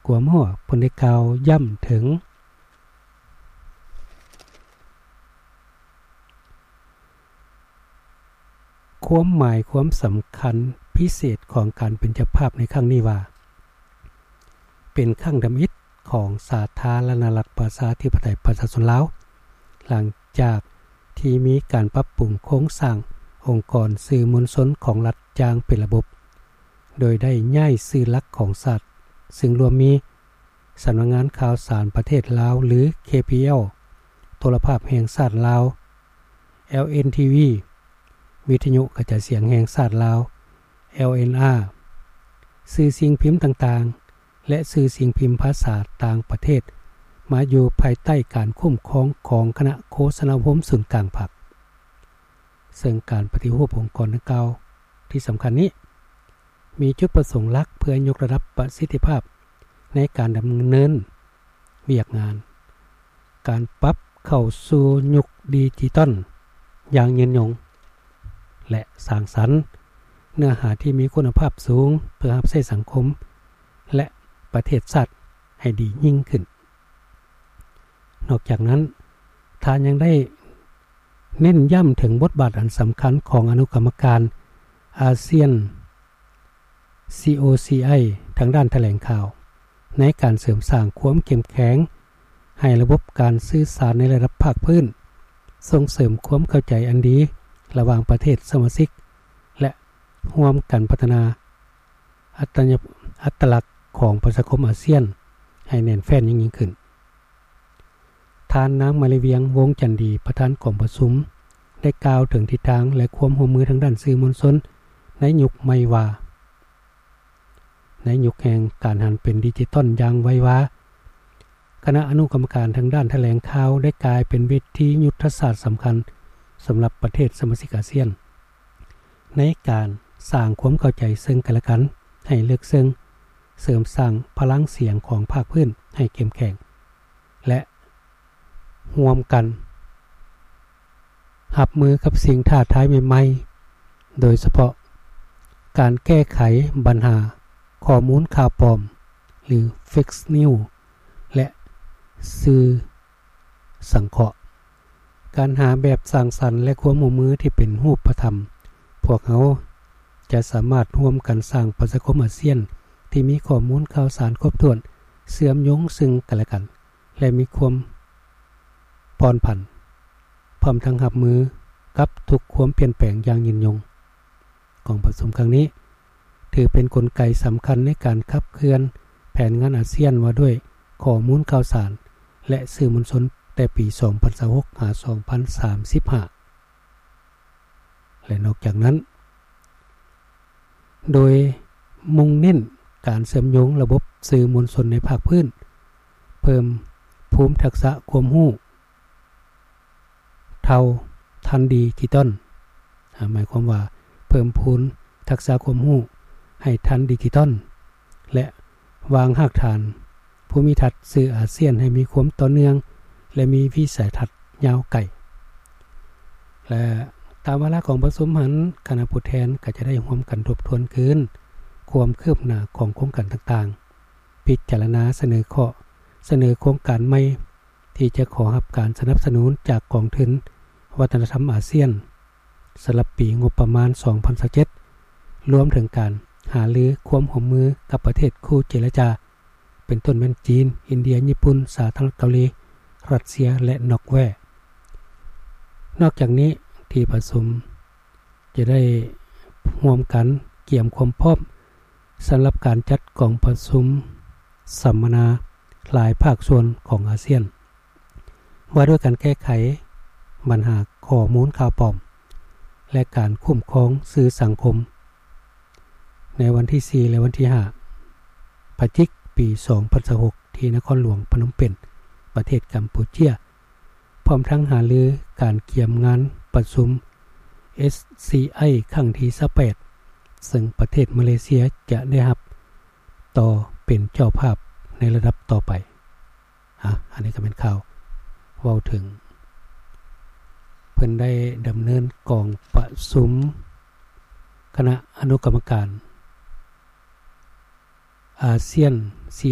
ກວມຫົວ ເພິ່ນໄດ້ກ່າວຢ້ຳເຖິງຄວາມໝາຍຄວາມສຳຄັນພິເສດຂອງການເປັນເຈົ້າພາບໃນຄັ້ງນີ້ວ່າ ເປັນຄັ້ງທຳອິດຂອງສາທາລະນະລັດປະຊາທິປະໄຕປະຊາຊົນລາວ ຫຼັງຈາກທີ່ມີການປັບປຸງໂຄງສ້າງອົງກອນສື່ມວນຊົນຂອງລັດຢ່າງເປັນລະບົບ ໂດຍໄດ້ຍ້າຍສື່ຫຼັກຂອງຊາດ ຊຶ່ງລວມມີ ສຳນັກງານຂ່າວສານປະເທດລາວ ຫຼື KPL, ໂທລະພາບແຫ່ງຊາດລາວ LNTV, ວິທະຍຸກະຈາຍສຽງແຫ່ງຊາດລາວ LNR, ສື່ສິ່ງພິມຕ່າງໆ ແລະ ສື່ສິ່ງພິມພາສາຕ່າງປະເທດ ມາຢູ່ພາຍໃຕ້ການຄຸ້ມຄອງຂອງຄະນະໂຄສະນາອົບຮົມສູນກາງພັກ. ເຊິ່ງການປະຕິຮູບອົງກອນດັ່ງກ່າວທີ່ສຳຄັນນີ້ ມີຈຸດປະສົງຫຼັກເພື່ອຍົກລະດັບປະສິດທິພາບໃນການດຳເນີນວຽກງານ, ການປັບເຂົ້າສູ່ຍຸກດິຈິຕອນຢ່າງຍືນຍົງ ແລະ ສ້າງສັນເນື້ອຫາທີ່ມີຄຸນນະພາບສູງ ເພື່ອຮັບໃຊ້ສັງຄົມ ແລະ ປະເທດຊາດໃຫ້ດີຍິ່ງຂຶ້ນ. ນອກຈາກນັ້ນ, ທ່ານຍັງໄດ້ເນັ້ນຢ້ຳເຖິງບົດບາດອັນສຳຄັນຂອງອະນຸກຳມະການອາຊຽນ COCI ທາງດ້ານຖະແຫຼງຂ່າວ ໃນການເສີມສ້າງຄວາມເຂັ້ມແຂງໃຫ້ລະບົບການສື່ສານໃນລະດັບພາກພື້ນ, ສົ່ງເສີມຄວາມເຂົ້າໃຈອັນດີລະຫວ່າງປະເທດສະມາຊິກ ແລະ ຮ່ວມກັນພັດທະນາ ອັດຕະຍະ ອັດຕະລັກຂອງປະຊາຄົມອາຊຽນໃຫ້ແໜ້ນແຟ້ນຍິ່ງໆຂຶ້ນ. ທ່ານນາງມາລີວຽງ ວົງຈັນດີ ປະທານກອງປະຊຸມ ໄດ້ກ່າວເຖິງທິດທາງ ແລະ ຄວາມຮ່ວມມືທາງດ້ານສື່ມວນຊົນໃນຍຸກໃໝ່ວ່າ, ໃນຍຸກແຫ່ງການຫັນເປັນດິຈິຕອນຢ່າງໄວວາ, ຄະນະອະນຸກຳມະການທາງດ້ານຖະແຫຼງຂ່າວໄດ້ກາຍເປັນເວທີຍຸດທະສາດສຳຄັນສຳລັບປະເທດສະມາຊິກອາຊຽນ ໃນການສ້າງຄວາມເຂົ້າໃຈເຊິ່ງກັນແລະກັນໃຫ້ເລິກເຊິ່ງ, ເສີມສ້າງພະລັງສຽງຂອງພາກພື້ນໃຫ້ເຂັ້ມແຂງ ແລະ ຮ່ວມກັນຮັບມືກັບສິ່ງທ້າທາຍໃໝ່ໆ, ໂດຍສະເພາະການແກ້ໄຂບັນຫາຂໍ້ມູນຂ່າວປອມ ຫຼື Fake News ແລະ ສື່ສັງເຄາະ. ການຫາແບບສ້າງສັນ ແລະ ຄວາມຮ່ວມມືທີ່ເປັນຮູບປະທຳ, ພວກເຮົາຈະສາມາດຮ່ວມກັນສ້າງປະຊາຄົມອາຊຽນທີ່ມີຂໍ້ມູນຂ່າວສານຄົບຖ້ວນ, ເຊື່ອມໂຍງເຊິ່ງກັນແລະກັນ ແລະ ມີຄວາມຜ່ອນຜັນ, ພ້ອມທັງຮັບມືກັບທຸກຄວາມປ່ຽນແປງຢ່າງຍືນຍົງ. ກອງປະຊຸມຄັ້ງນີ້ ຖືເປັນກົນໄກສຳຄັນໃນການຂັບເຄື່ອນແຜນງານອາຊຽນວ່າດ້ວຍຂໍ້ມູນຂ່າວສານ ແລະ ສື່ມວນຊົນແຕ່ປີສອງພັນຊາວຫົກ ຫາ ສອງພັນສາມສິບຫ້າ ແລະ ນອກຈາກນັ້ນ ໂດຍມຸ່ງເນັ້ນການເຊື່ອມໂຍງລະບົບສື່ມວນຊົນໃນພາກພື້ນ, ເພີ່ມພູມທັກສະຄວາມຮູ້ ເທົ່າທັນດິຈິຕອນ, ອາ, ໝາຍຄວາມວ່າເພີ່ມພູນທັກສະຄວາມຮູ້ໃຫ້ທັນດິຈິຕອນ ແລະ ວາງຮາກຖານພູມິທັດສື່ອາຊຽນໃຫ້ມີຄວາມຕໍ່ເນື່ອງ ແລະ ມີວິໄສທັດຍາວໄກ. ແລະ ຕາມວາລະຂອງປະຊຸມຫັ້ນ, ຄະນະຜູ້ແທນກໍຈະໄດ້ຮ່ວມກັນທົບທວນຄືນຄວາມຄືບໜ້າຂອງໂຄງການຕ່າງໆ, ພິຈາລະນາສະເໜີຂໍ້ສະເໜີໂຄງການໃໝ່ ທີ່ຈະຂໍຮັບການສະໜັບສະໜູນຈາກກອງທຶນວັດທະນະທຳອາຊຽນ ສຳລັບປີງົບປະມານສອງພັນຊາວເຈັດ ລວມເຖິງການຫາລືຄວາມຮ່ວມມືກັບປະເທດຄູ່ເຈລະຈາ ເປັນຕົ້ນແມ່ນຈີນ, ອິນເດຍ, ຍີ່ປຸ່ນ, ສາທາລະນະລັດເກົາຫຼີ, ຣັດເຊຍ ແລະ ນອກເວ. ນອກຈາກນີ້, ທີ່ປະຊຸມຈະໄດ້ຮ່ວມກັນກຽມຄວາມພ້ອມ ສຳລັບການຈັດກອງປະຊຸມສຳມະນາຫຼາຍພາກສ່ວນຂອງອາຊຽນ ວ່າດ້ວຍການແກ້ໄຂບັນຫາຂໍ້ມູນຂ່າວປອມ ແລະ ການຄຸ້ມຄອງສື່ສັງຄົມ ໃນວັນທີສີ່ ແລະ ວັນທີຫ້າ ພະຈິກ ປີສອງພັນຊາວຫົກ ທີ່ນະຄອນຫຼວງພະນົມເປັນ ປະເທດກຳປູເຈຍ. ພ້ອມທັງຫາລືການກຽມງານປະຊຸມ SCI ຄັ້ງທີຊາວແປດ ເຊິ່ງປະເທດມາເລເຊຍຈະໄດ້ຮັບຕໍ່ເປັນເຈົ້າພາບໃນລະດັບຕໍ່ໄປ. ອາ, ອັນນີ້ກໍແມ່ນຂ່າວເວົ້າເຖິງ ເພິ່ນໄດ້ດຳເນີນກອງປະຊຸມຄະນະອະນຸກຳມະການ ອາຊຽນ COCI